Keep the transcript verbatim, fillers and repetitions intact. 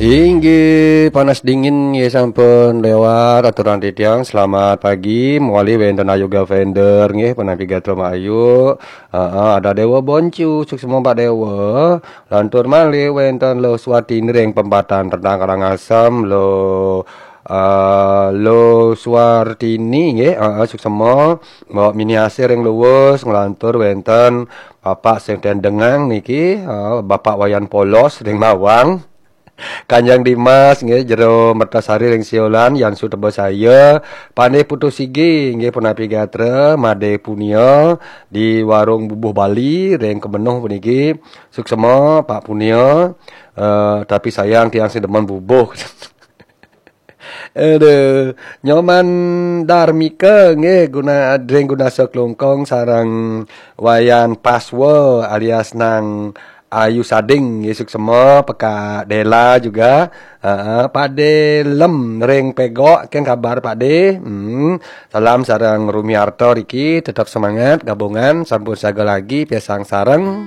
Inggih, panas dingin nggih sampun lewat, aturan titiang selamat pagi, mawali wénten Ayu Gavender nggih, punapi gatra Mak Ayu. Heeh, ada Déwa Boncu, suksma Pak Déwa. Lantur malih wénten Lo Suwartini ring Pempatan Rendang Karangasem, Lo, eh, Lo Suwartini nggih, heeh, suksma. Mbok Mini Asih ring Luwus, nglantur wénten Bapak sing dendengang niki, eh, Bapak Wayan Polos ring Mawang. Kanjeng Dimas nggih, Jero Mertasari ring Siolan, Yan Sutebasaya, Pandé Putu Sigi nggih, punapi gatra, Madé Punia di Warung Bubuh Bali ring Kemenuh puniki. Suksma Pak Punia, eh, tapi sayang tiang sing demen bubuh. Aduh, Nyoman Darmika nggih, guna ring Gunasa Klungkung sareng Wayan Paswa alias Nang Ayu Sading nggih, suksma, Pekak Dela juga. Heeh, Pak De Lem ring Pegok, kén kabar Pak De? Hmm, salam sareng Rumiarto riki, tetap semangat, gabungan sampun siaga lagi, pisan sareng.